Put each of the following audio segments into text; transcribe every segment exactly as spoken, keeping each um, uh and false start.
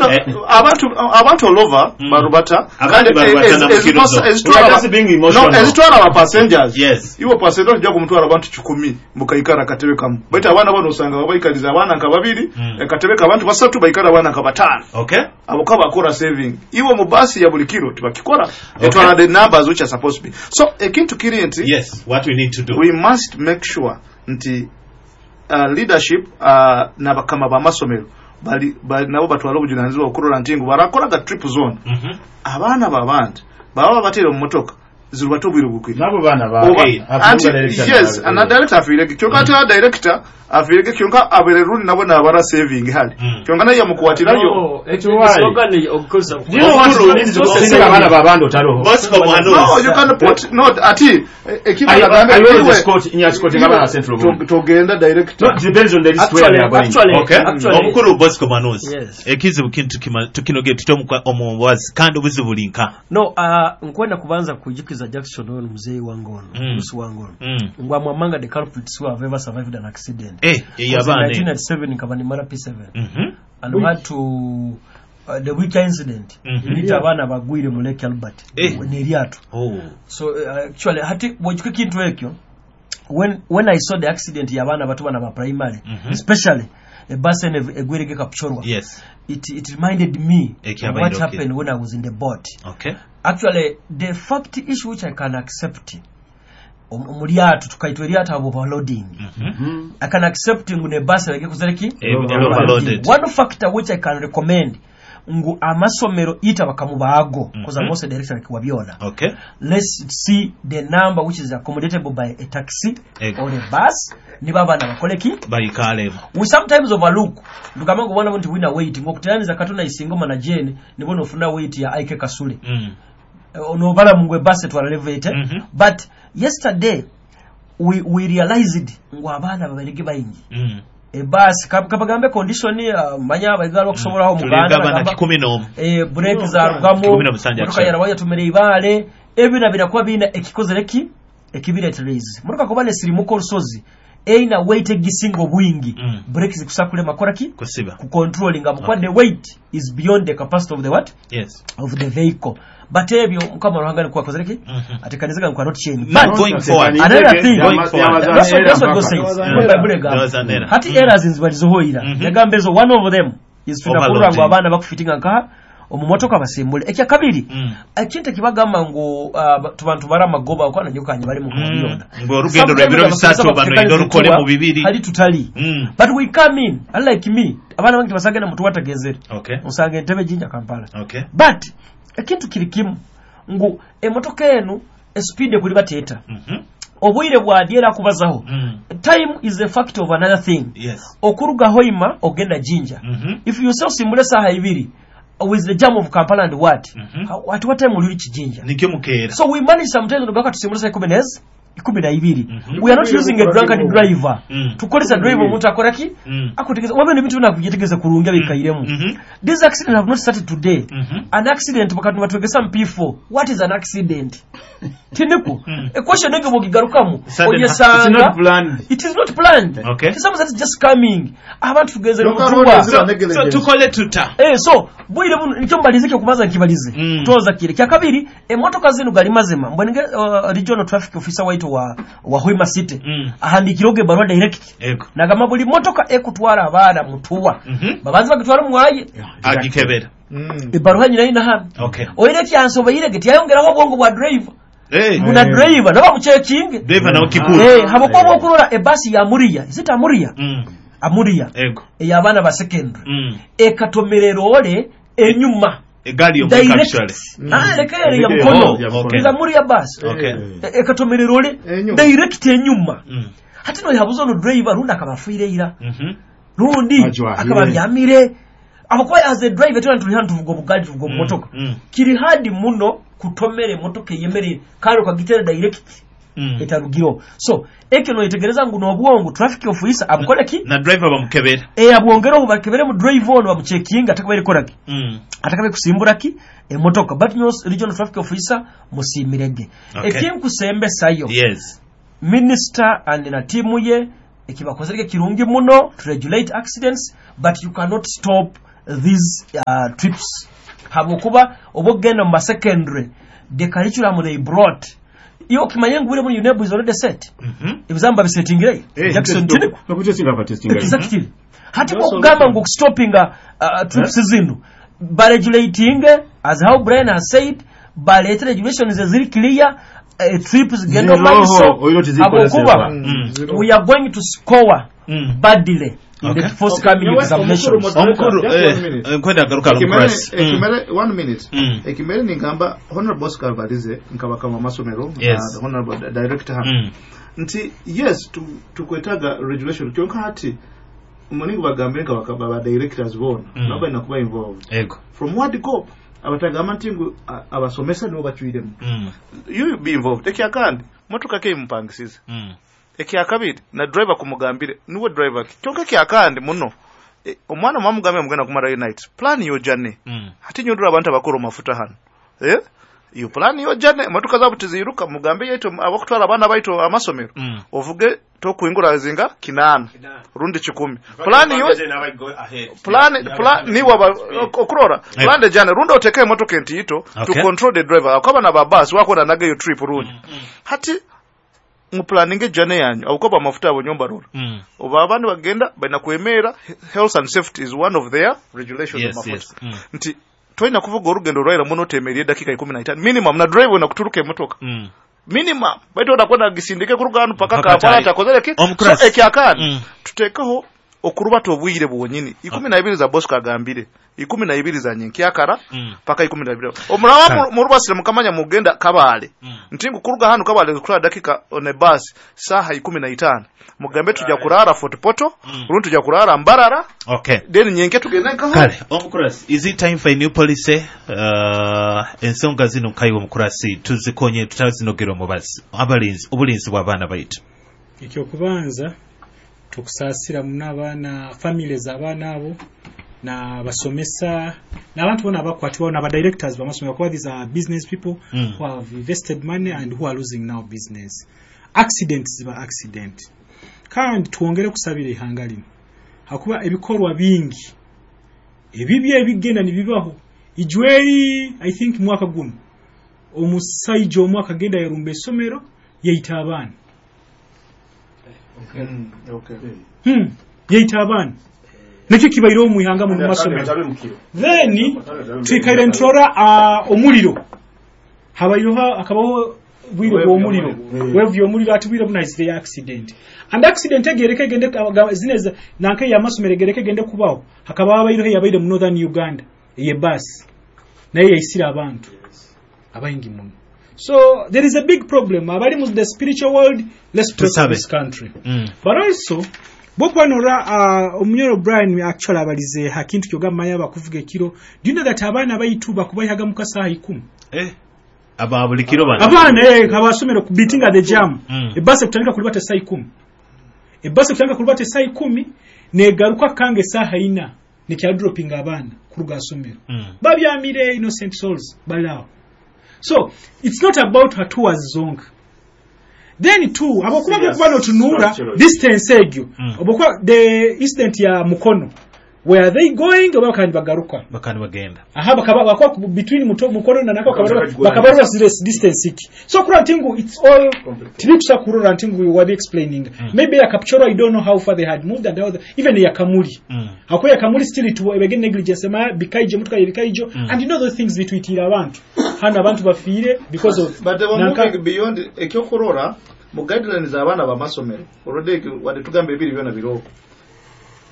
No, abantu abantu all over Mm. barubata. Abandi Kandi barubata ez- na ez- mukirozo. ezipasa- ezitwara We are aba- just being emotional. No, ezitwara aba passengers. Yes. Iwe passenger ojja kumutwara abantu kikumi mukaikara akatebe kamu, baitu abaana bano osanga babaikaliza abaana nka babiri, Mm. akatebe k'abantu basatu baikara abaana nka bataano. Okay. Abo kabakora saving. Iwe mu basi ya buli kiro tibakikora. Okay. Etwala the numbers which are supposed to be. So ekintu kiri nti Yes, what we need to do. we must make sure nti uh, leadership uh, n'abakama b'amasomero bali, bali nabo batwala obujunanizibwa okurora nti ngu barakoraga trip zone, Mhm. abaana babandi baba babateere mu motoka zirubate obwire bukwire. Nabo baana ba Oba- Eh, anti yes, ana director afiirege, kyonka ate mm. Director afiirege, kyonka abere rundi nabo nabara saving hali, Mm. kyonka naye yamukwatirayo. No, It's why. slogan okukozesa. Do you know what Omukulu- needs to kusindika abaana babandi otaloho? Bosco No, Mwanuzi. you can put no ati ekiba I- nagambe I always iwe- escort- nya escorting abaana Central to- Board. togenda director. No, it depends on the list where they Actually, are going. actually, Okay. actually, Omukulu Bosco Mwanuzi. Yes. Ekizibu kintu kima- tukinogere tutya omukwa- omuwazi kandi obuzibu buli nka? No, uh, nkwenda kubanza kujukiza Jackson ono muzeeyi wange ono, Mm. musi wange ono, Mm. ngu I'm among the culprits who have ever survived an accident. Eh, Because in eyabaana eno. nineteen ninety-seven nkaba nimara P seven Mhm. and we had to uh, the week incident, Mhm. nita abaana bagwire mu Lake Albert Eh. n'eryato. Oh. So uh, actually hati bw'ojuka ekintu ekyo, when, when I saw the accident y'abaana bato bana ba primary, Mhm. especially ebasi eno egwirege Kapchorwa, Yes. it, it reminded me of Ekyabaire, what okay. happened when I was in the boat. Okay. Actually, the fact issue which I can accept, om- mu lyato tukaitwa eryato abo overloading. Mhm. I can accept ngu nebasi erege kuzereki. Eh, overloaded. One factor which I can recommend ngu amasomero ita bakamubaago, because Mhm. I'm also director wa byona, Okay. let's see the number which is accommodatable by a taxi Eh. or a bus, niba abaana bakoleki. Bayikalemu. We sometimes overlook, tugamba ngu obwana nti bwina weight, ng'okuteraniza katona isingoma na jane nibona ofuna weight ya Ike Kasule. Mm. Onobala mungu ebasi etwala levete. Mhm. But yesterday we, we realized ngu abaana baberege bayingi, Mm. ebasi kabagambe condition, uh, manya abaigala okusobolaho. Tulinga Muganda abaana bagamba- kikumi n'omu. eh, brake zarugamu. Kikumi na musanju Motoka actually. yarabayo yatumira ibaale, ebina birakuba biina ekikozere ki ekibireterezi motoka kuba nesirimuka olusozi eina weight egisinga obwingi, Mm. brake zikusa kulema kola ki? Kusiba. Kucontrollinga mukuba Okay. the weight is beyond the capacity of the what? Yes. Of the vehicle. But ebyo Mukama Ruhanga nikuwa akozere ki? Mhm. Atekanizaga nkuwa not change. Now But going forward. another thing- Going forward. that's what, that's what God says. Mm. What Bible egamba. There was an error. Hati Mm. errors nzibalizohoira, Mhm. yagamba ezo, one of them is tunakulura ngu Overloading. abaana bakufitinga nkaha omumotoka basimbule. Ekyakabiri, Mm. ekintu ekibagamba ngu uh, tubantu bari amagoba okwana nyukanye bali mu Mm. byona. Ng'olugendo lw'ebiro bisatu bano enda olukole mu bibiri. Hali tutali. Mm. But we come in, unlike me, abaana bange tebasagenda mutuwatagezere, Okay. osanga entebe Jinja Kampala. Okay. But ekintu kiri kimu ngu emotoka enu espeed ekuli bateeta, Mhm. obwire bwadyera akubazaho. Mm. Time is a factor of another thing. Yes. Okuruga Hoima ogenda Jinja, Mhm. if you say osimbule saaha ibiri with the jam of Kampala and what, Mhm. how, at what time will you reach Jinja? Nikyo mukeera. So we manage sometimes nogaka tusimbule saa ikumi nezi ikumi na ibiri. Mhm. We are not using a drunkard driver. Mm. Tukozesa driver omuntu akora ki? Mm. Akutegeeza wabeno ebintu byona akubyetegereza kurungi abikairemu. Mhm. These accidents have not started today. Mhm. An accident bakati batwegesa mu P four, what is an accident? Tiniku Mm. equation ege bwogigarukamu Sudden- It's oyesanga not planned. It is not planned. Okay. It's something that's just coming. Abantu tugezere Kyokka mutuwa. road ezira So negligence. tukole tuta? Eh, so bwire buno nikyo mbalize kyo kubanza nkibalize. Mm. Toza kire kyakabiri, emotoka zino gali mazima mbwenenge uh, regional traffic officer waitu wa wa Hoima City Mm. ahandikiroge barua direct, Ego. nagamba buli motoka ekutwara abaana mutuwa, Mhm. babanze bagitwara mwaye. Agikebera. Mm. Ebaruha nyina ina hano. Okay. Oire kyansobeire tiyayongeraho obwongo bwa driver, Eh. muna driver nabo bamuchekinge. Driver nawe kikulu. Eh, habokuba bwokurora ebasi ya Amuria, is it Amuria? Mm. Amuria Ego. ey'abaana ba secondary, Mm. ekatomerera ole enyuma. Egaali y'omukka Direct. actually. Ah, leka ere ya Mm. mukono. Oh, okay. Eza Amuria bus. Okay. E- ekatomerera ole Enyuma. direct enyuma. Mm. Hati noyabuza ono driver rundi akaba afiire ira, Mhm. rundi Ajwahire. akaba abyamire, abakuba as a driver tena tuli hano tuvuga obugali, tuvuga obumotoka. Mm. Kiri hadi muno kutomera emotoka eyemerere kandi ukagitera direct, Mm. etarugiro. So ekyo noyetegereza ngu n'obwongo traffic officer abukole ki? Na driver bamukebera. E, abwongereho bakebere mu driver ono, bamuchekinga atakabaire koraki, Mm. atakabe kusimbura ki emotoka. But no, regional traffic officer musiimirege. Okay. Ekinkusembesayo, Yes. minister and na tiimu ye ekibakozereke kirungi muno to regulate accidents, but you cannot stop these uh, trips habwokuba oba okugenda mu masecondary the curriculum they brought iyo okimanye ngu bure muri UNEB is already set ebizamu babisetingireyo Jackson Tiniko Bakutestinga batestinga. Exactly. Hati bwokugamba ngu okustopinga uh, trips zino baregulating, as how Brian has said, baleete regulations eziri clear, uh, trips zigenda Ziroho, mumaiso oyiro tizikozesebwa. habwokuba Mm. we are going to score Mm. badly in Okay. the forthcoming Okay. examinations. Omukuru Just eh, one minute. eh, nkwenda agaruka Ekimere- omukurasi. Mm. ekimere one minute. Mm. Ekimere ningamba Honorable Oscar Barize nkabakama amasomero, Yes. uh, the honorable di- director hano Mm. nti yes, tu- tukwetaaga regulation, kyonka hati muningi bagambire nka baka- ba directors bona Mm. nabo balina kuba involved Ego. from word go. Abatagamba nti ngu a- abasomesa nibo bacwiremu, Mm. you be involved. Ekyakandi motoka ke imupangisize. Mm. Ekyakabiri na driver kumugambire niwe driver ki kyonka ekyakandi muno e, omwana mwamugambire mugenda kumarayo night, plan your journey. Mm. Hati nyondora abantu abakora mafuta hano, eh iyo plan yo jane motoka zabo tiziruka, mugambe yetu abakutwala abaana baitu amasomero Mm. ovuge tokuingura zinga kinana rundi kikumi. Plan yo plan plan ni waba okurora Eh. plan jane rundi oteke emotoka entiito to Okay. control the driver akaba na babasi wakona naga yo trip rundi. Hati muplaninge jane yanyu abukoba amafuta abo nyomba rora Mm. oba abandi bagenda balina kwemera. Health and safety is one of their regulations. Yes, Amafuta yes. Mm. nti tolina kuvuga olugendo olwaira muno otemerye eddakiika ikumi na itaano minimum na drive na kuturuka emotoka Mm. minimum baitu odakwenda gisindike kuruga hano paka Mpaka Kampala Tai. takozere ki. Omukurasi. So ekyakandi Mm. tuteekeho okurubata obwire bwonyini ikumi na ibiri za Bosco agambire ikumi na ibiri za nyenkyakara Mm. paka ikumi na ibiri omuraba Kale. murubasire mukamanya mugenda Kabale Mm. nti ngu kuruga hano Kabale kutwala dakika on a bus saha ikumi na itaano, mugambe tujja kurara Fort Portal Mm. rundi tujja kurara Mbarara, Okay. then nyenke tugende nkaho. Kale omukurasi, is it time for a new policy? uh, ensonga zino nkaiwe omukurasi tuzikonye tutazinogera omubazi abalinzi obulinzi bw'abaana baitu. Ekyokubanza tukusaasira muno abaana, families abaana abo n'abasomesa n'abantu bona abakwatibwaho n'abadirectors b'amasomero kuba these are business people Mm. who have invested money and who are losing now business. Accident ziba accident, kandi twongere kusabira ihanga lino hakuba ebikorwa bingi ebibi ebigenda nibibaho. Ijweri I think mwaka guno omusaija omu akagenda yarumba essomero yaita abaana. Mm, okay. hmm. yaita abaana nekyo kibaire omu ihanga muno mumasomero. Then twikaire nturora uh, omuliro habayeho hakabaho bwire bw'omuliro, wevu y'omuliro, ati bwire bunaizire accident and accident egereke egende aga- zine za- nanka yamasomero egereke egende kubaho hakaba habaireho yabaire mu northern Uganda eye bus naye yaisire abantu abaingi muno. So there is a big problem abali mu the spiritual world. Let's pray for Tusabe. this country. Mm. But also bwokuba nora uh, omunyoro Brian actually abalize hakintu kyogamba manya bakuvuga ekiro. Do you know that abaana baitu bakubayihaga mu kasaha ikumi? Eh, aba buli kiro bano. Abaana eh, abasomero ku beating at the jam. Mm. Ebasi ekutandika kulibata esaa ikumi, ebasi ekutandika kulibata esaa ikumi negaruka kanga esaaha ina nekyadropinga abaana kuruga asomero. Mm. Babyamire, innocent souls balaawo. So it's not about hatuwas zonka. Then two, abakuba bokuba notunuura structural. Distance egyo Mm. obokuba the incident ya Mukono, were they going oba bakandi bagaruka? Bakandi bagenda. Aha bakaba bakwa ku- between muto Mukono na nako Bakaba- bakabarwa zile distance iki. So kurora nti ngu it's all tibikusa kurora nti ngu wabi explaining Mm. maybe ya Kapchorwa, I don't know how far they had moved and how the, even ya Kamuli Mm. ako ya Kamuli still it ebege negligence ma bikaijo mutuka bikaijo. Mm. And you know those things bitwitira abantu hano abantu bafiire because of But they were nanka- moving beyond ekyokurora mu guidelines abaana bamasomero olwedde wadde tugamba ebiri byona biroko.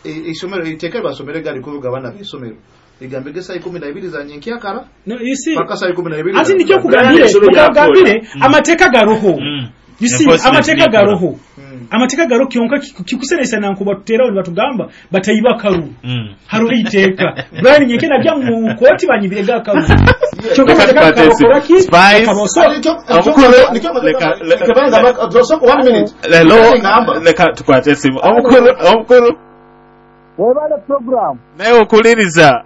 E- isomero iteeka basomere gali kuvuga abaana b'isomero ligambe gesa ikumi na ibiri za nyenkyakara no, you see, paka saa ikumi na ibiri ati za- nikyo kugambire Ebisolo kugambire Mm. amateeka garoho. Mm. You see, Enforcement amateeka nekola. garoho. Mm. Amateeka garoho kyonka kikusenesa nankuba tuterawo nibatugamba batayiba kalulu. Mm. Hariho iteeka Brian nyeke najya mu kooti banyibirega akalulu kyonka Leka amateeka tukwate esimu. karokoraki Spice. so Ati nikyo- Omukulu, nikyo- leka- leka- Kebanga bak- so- one minute. Lelo Ngamba. leka tukwate esimu. Omukulu, omukulu Webale program. Naye okuliriza.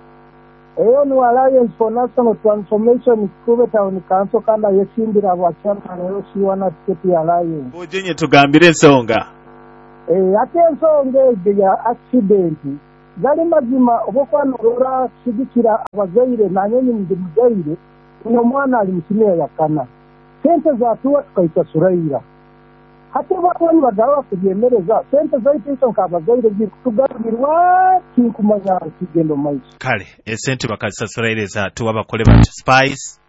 Eyo ni Alliance for National Transformation Kikube Town Council kandi ayesimbira bwa chairman eyo siwana ticket ya Alliance. Bujenye tugambire ensonga. Eh, ate ensonga ezo ya accident Gali mazima obokuba norora kusigikira abazaire nanyonyi ndi muzaire uno mwana ali musimira yakana sente zatuwa tukaisasuraira hati bakwani bagawa kubyemereza sente zaitu iso nkabazaire zikutugarurirwa tinkumanya kigendo maiso. Kale esente bakazisasuraire zatuwa bakole bati Spice.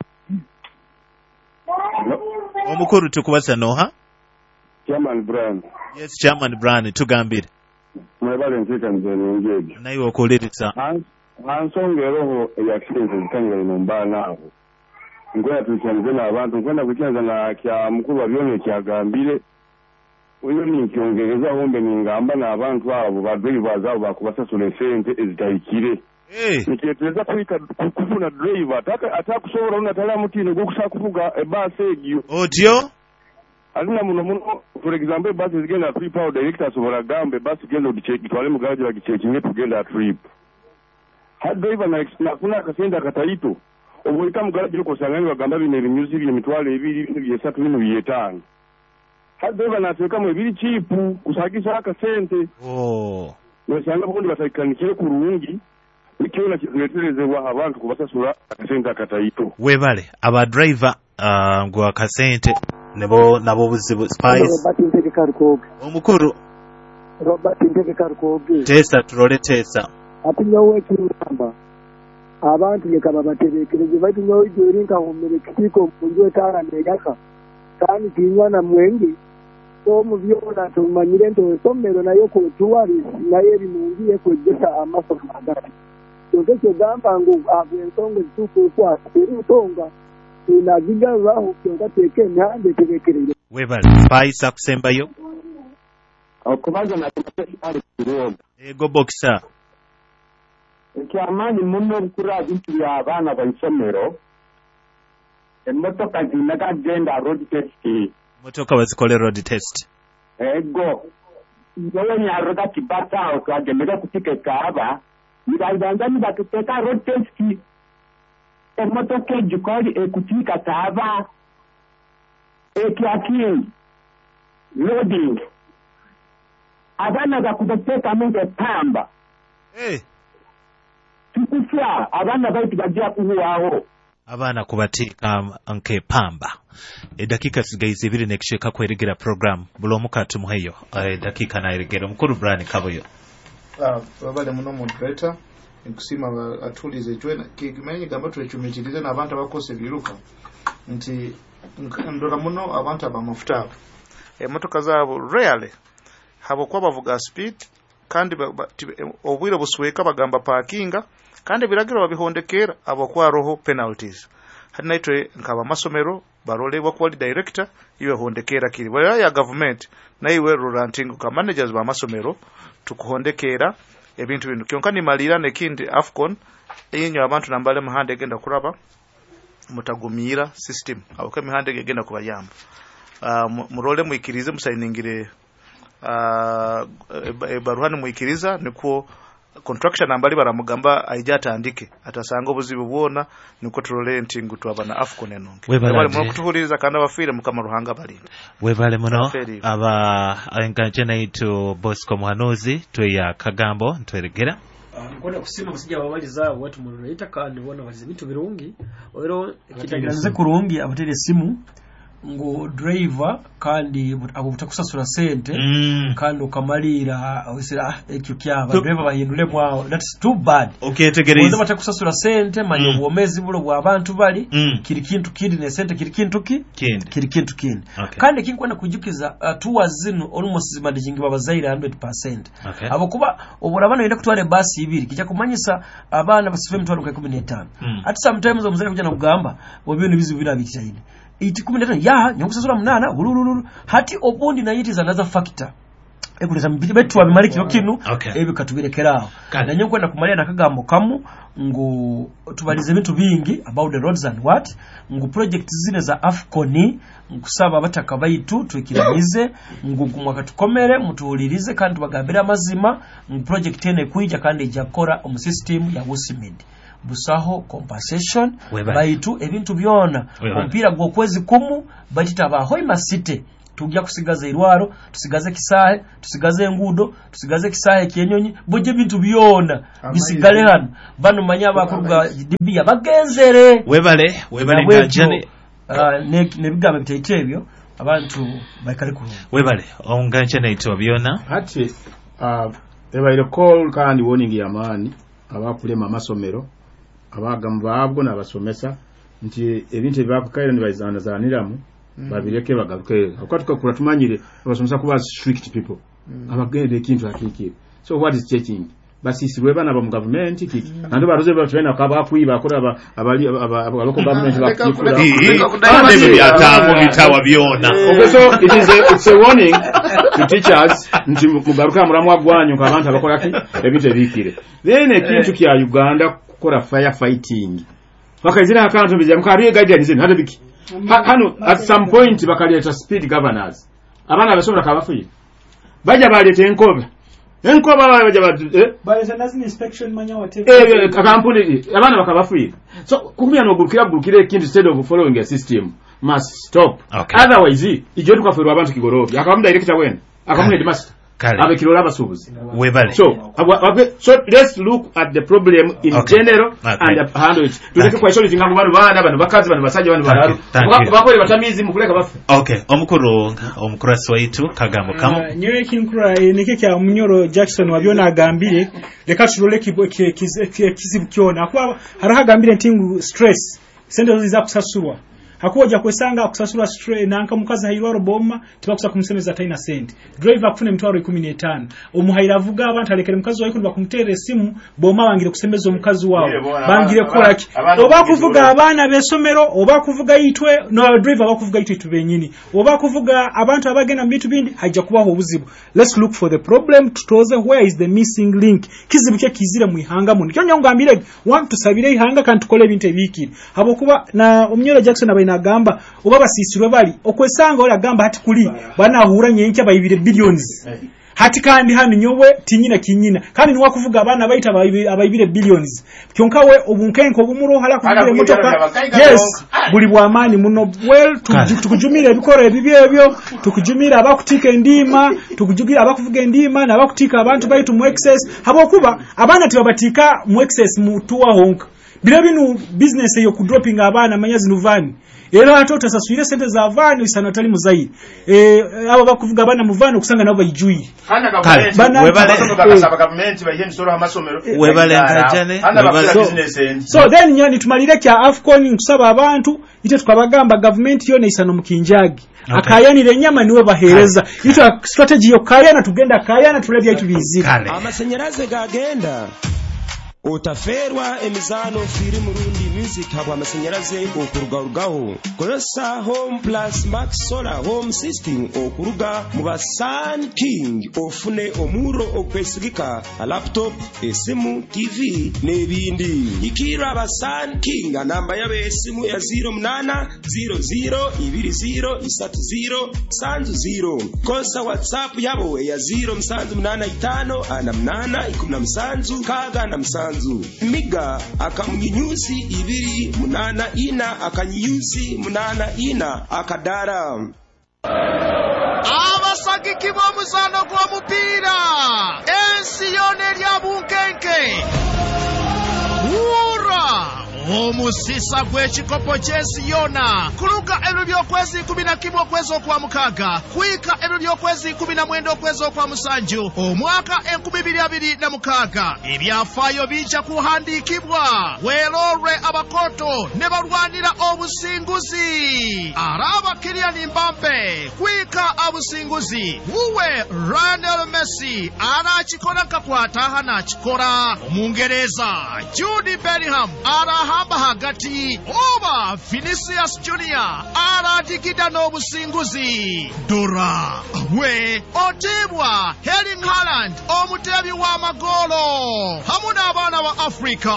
Omukuru tukubaza noha? Chairman Brian. Yes, Chairman Brian, tugambire. Mwebale nteekaniza ennungi egyo. Naye okuwuliriza. Ansonga eroho eya accident ezitangire ino mbaana abo. Nkwenda tukyanize n'abantu, nkwenda kukyaniza na kya mukuru wa byona ekyagambire. Oyo ninkyongerezaho mbe ningamba n'abantu abo ba drivers abo bakubasasula esente ezitahikire. Nikyetereza kuhika kufuna driver atakusobola unatala mutino gwokusa kuvuga ebasi egyo. Otyo? Alina muno muno, for example, ebasi zigenda trip awo director asobola gamba ebasi genda ogitwale mu garage bagichekinge tugenda trip. Ha driver nafuna akasente akataito obwoyita mu garage okosanga bagamba bino ebinyuzi bino emitwalo ebiri bino byesatu bino byetaano. Ha driver nateekamu ebiri cheap kusagisa akasente. Oh. Nosanga bundi batakanikire kurungi. Nikiona kireterezebwa abantu kubasasula akasente akataito. Webale aba driver uh, ngwa akasente nebo nabo buzibu Spice. Robert Ntege Karukoge. Omukuru Robert Ntege Karukoge. Tesa turole tesa. Ati nyowe kiramba abantu leka babaterekereze baitu nyowe ijeri nkahumire kitiko munju etara neyaka kandi tinywa na mwenge so mu byona tumanyire nto somero nayo ko tuwari nayo eri mungi kwegesa amasomo agati. Kyonka gamba ngu agwensonga zituufu kwa ensonga tunazigaruraho kyonka teeke emihanda eterekerere. Webale Spice akusembayo. Okubanza nakumaali kirungi. Ego boxer. Ekyamaanyi muno obukura bintu by'abaana baisomero emmotoka zinaga genda road test. Emmotoka bazikole road test. Ego nyowe nyaroga kibata aho twagendera kutika ekaaba nibabanza nibakuteeka road test. Emmotoka egikoli ekutika kaaba ekyakindi loading abaana bakubateekamu ng'epamba. Hey. Tukufya abaana baitu bajja kuhuwaho. Abaana kubateeka nk'epamba. Eddakiika zigaize ibiri n'ekicweka kweregera program buli omu katumuheyo eddakiika nayeregera. Omukuru Brian Kabuyo. Babale muno moderator nkusima atulize jwe kimanyi gamba twechumitirize n'abantu abakose biruka nti ndora muno abantu abamafuta abo emotoka zaabo rarely habokuba bavuga speed kandi obwire busweka bagamba parkinga kandi ebiragiro babihondekera abokuba roho penalties. Hati naitwe nkaba masomero barole bakwali director iwe hondekera kiri bwa ya government na iwe ruranting ka managers ba masomero tukuhondekera ebintu bino kyonka nimalira nekindi AFCON enyo abantu nambale muhande egenda kuraba mutagumira system aboke mihande egenda kubayamba. Uh, murole muikirize musayiningire uh, baruhani muikiriza niko contraction ambali baramugamba aija atandike atasanga obuzibu bwona niko turole nti ngu twaba na AFCON enonge. Webale muno kutuhuliriza kandi abafiire Mukama Ruhanga balinda. Webale muno aba enganje naitu Bosco Muhanuzi tweya kagambo ntweregera. Nkwenda kusima musijja babaliza watu muloleta kandi bona baliza bintu birungi ero kitagiranze kurungi abatere simu ngo driver kandi abo butakusasura sente mm. kandi ukamalira wisira ekyo kyaba driver bahindule mwawo that's too bad. Okay, tegereza batakusasura sente manyo mm. buomezi bulo bwa abantu bali mm. kiri kintu kindi ne sente kiri kintu ki kiri kintu kindi okay. Kandi kinkwenda kujukiza uh, tours zino almost zimanaging babazaire one hundred percent. Okay. Abo kuba oburabana yenda kutwara basi ibiri kijya kumanyisa abana basife mitwalo kumi na tano mm. At sometimes omuzere kujana kugamba wabyo nibizibu binabitiraine iti kumi na tano ya nyokusasura munana hulululu hati obundi na yiti za another factor ekuleza betu abimaliki kinu okay. Ebi katubirekeraho na nyo kwenda kumalira nakagambo kamu ngu tubalize bintu bingi about the roads and what ngu project zine za AFCON nkusaba abataka baitu twikiramize ngu gumwaka tukomere mutuhulirize kandi tubagambire amazima ngu project ene kuija kandi ijakora omu system ya Usimid busaho compensation baitu ebintu byona ompira gwokwezi kumu baitu tabaho imasite Tujja kusigaza irwaro, tusigaze kisaahe, tusigaze enguudo, tusigaze kisaahe kyenyonyi, bujje ebintu byona bisigale hano. Bano manya abakuruga Libya bagenzere. Webale, webale Nabwekyo, ngajane. ah, ne- n'ebigambo bitaito ebyo abantu baikale kurungi. Webale onganjane ito byona. Hati uh, ebaire call kandi warning y'amaani abakulema amasomero abagamu baabwo n'abasomesa nti ebintu ebibakukaire nibazaaniramu Mm. babireke bagaruke kuba tukakura tumanyire abasomesa kuba strict people Mm. abagenda ekintu akikire. So what is checking basisirwe bana ba mu government kiki nando baruze batwena kaba akwiba akora aba abali abaloko government bakikura. Ebyo byataamu bitawa byona. Okay, so it is a, it's a warning to teachers nti mugaruka muramu agwanyu abantu abakola ki ebintu ebikire. Then ekintu kya Uganda kukola fire fighting bakaizira akantu bija mukariye guidance hata biki Ha- hano at some point bakaleta speed governors abaana abasobola kabafuye bajja baleta enkoba enkoba bajja ba eh? Baleta nazino inspection manya whatever. Eh, kampuni abaana bakabafuye. So kumya nogurukira gurukira ekintu instead of following a system must stop. Okay. Otherwise ijo tukaferwa abantu kigorobya akamu director wena akamu headmaster Kale. abekirora abasubuzi. Webale. So abwa- abwe- so let's look at the problem in Okay. general Okay. and handle it. Tuleke Thank kwa isoli tingangu bano bana bano bakazi bano basajja bano Thank balalu you. Thank you. bakole batamizi mukuleka bafe. Okay, omukuru omukurasi waitu kagambo kamu. Ah, nyowe ekinkura eh, nikyo kya Munyoro Jackson wabyona agambire leka turole kibo- ki- kiz- ki- ekizibu kyona akuba hariho agambire nti ngu stress sente zo ziza kusasurwa hakuba ojja kwesanga akusasurwa stress nanka mukazi hairwaro boma tibakusa kumusemeza taina sente driver akufuna emitwaro ikumi n'etaano omuhaira avuga abantu alekere mukazi wawe kundi bakumuteera esimu boma bangire kusemeza omukazi wawe Yee, bona, bangire abaana- kukola ki abaana oba okugizuula. kuvuga abaana b'essomero oba kuvuga itwe no driver bakuvuga itwe tubenyini oba kuvuga abantu abagenda mu bintu bindi hajja kubaho obuzibu. Let's look for the problem, tutoze where is the missing link, kizibu kye kizire mu ihanga muno kyo nyongambire one tusabire ihanga kandi tukole ebintu ebikire habwokuba na Omunyoro Jackson abaina agamba oba basisirwe bali okwesanga ora agamba hati kuli banahura nyenkya bayibire billions hati kandi hano nyowe tinyina kinyina kandi niwa kuvuga abaana baita abayibire abayibire billions kyonka we obunkenko obumuro hala kuvuga Hala emotoka kuvugira yes buli bwamaani muno. Well, tu- Kale. tukujumira ebikoro ebibi ebyo, tukujumira abakutika endiima, tukujumira abakuvuga endiima n'abakutika abantu baitu mu excess habwokuba abaana tibabatika mu excess mu tuwa honka biro binu business eyo kudropinga abaana manya zino vani era ate otasaswire sente za vani isana otali muzaire eh abo bakuvuga abaana mu vani okusanga nabo bayijuye. Hana Kale. gavumenti Bana- Webale. amasomero bakasaba gavumenti bayihe emisolo amasomero. Webale ngajane, Hana webale. bakula So- business endi. So then nyo tumalire kya AFCON nkusaba abantu ite tukabagamba gavumenti yona isano mukinjagi Okay. akayanira enyama niwe bahereza itwe strategy yo kayana tugenda kayana tulebya itu bizira. Kale. Amasanyaraze gagenda otaferwa emizaano firimu rundi music habw'amasanyaraze okurugarugaho. Kozesa Home Plus Max Solar Home System okuruga mu ba Sun King ofune omurro okwesigika a laptop, esimu, T V n'ebindi. Ikirra aba Sun King namba yabo esimu ya zero munana zero zero ibiri zero isatu zero sanzu zero. Kozesa WhatsApp yabo eya zero musanzu munana itano ana munana ikumi na musanzu kaga na musanzu. Miga akamunyinyusi ibiri munana ina akanyinyusi munana ina akadara. Abasagiki b'omuzaano gw'omupiira ensi yona erya bunkenke wura omusisa gw'ekikopo ky'ensi yona kuluga ebiro by'okwezi ikumi na kimu okwezi okwa mukaaga kwika ebiro by'okwezi ikumi na mwenda okwezi okwa musanju omwaka enkumi biri abiri na mukaaga ebyafaayo bijja kuhandiikibwa weerolwe abakoto ne balwanira obusinguzi araba Kylian Mbappe kwika abusinguzi wuwe Lionel Messi arakikora nkakwataha nakikora omungereza Jude Bellingham arahamba hagati oba Vinicius Junior aradigida n'obusinguzi dora we otibwa Erling Haaland omutebi w'amagolo hamu n'abaana ba Afrika.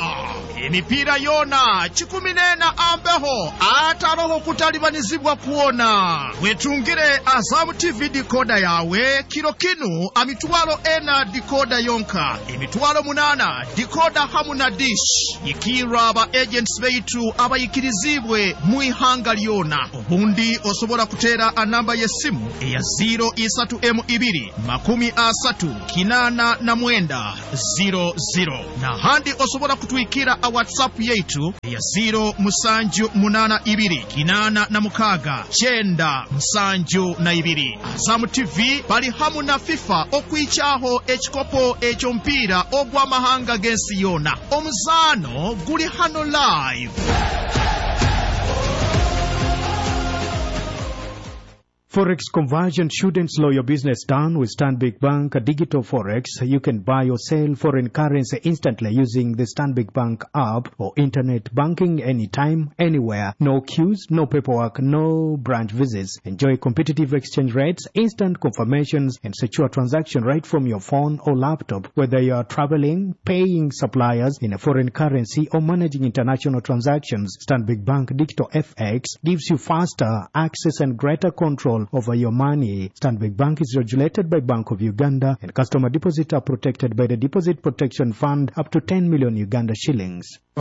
Emipiira yoona kikumi n'ena ambeho ataroho kutalibanizibwa kuona. Wetungire Azamu T V decoder yawe kiro kinu amitwalo ena decoder yonka, emitwalo munana decoder hamu na dish. Yikirwa aba agents beitu abayikirizibwe mu ihanga lyona. Obundi osobola kuteera anamba y'essimu eya zero isatu m ibiri makumi asatu kinana na mwenda zero zero, nahandi osobola kutwikira a WhatsApp yaitu eya zero musanju munana ibiri kinana na mukaga kyenda nsanju na ibiri. Azamu T V bali hamu na FIFA okwichaho ekikopo eky'omupiira ogw'amahanga g'ensi yona. Omuzaano guli hano live. Forex conversion shouldn't slow your business down. With Stanbic Bank Digital Forex, you can buy or sell foreign currency instantly using the Stanbic Bank app or internet banking anytime, anywhere. No queues, no paperwork, no branch visits. Enjoy competitive exchange rates, instant confirmations, and secure transaction right from your phone or laptop. Whether you are traveling, paying suppliers in a foreign currency, or managing international transactions, Stanbic Bank Digital F X gives you faster access and greater control over your money. Stanbic Bank is regulated by Bank of Uganda, and customer deposits are protected by the Deposit Protection Fund up to ten million Uganda shillings.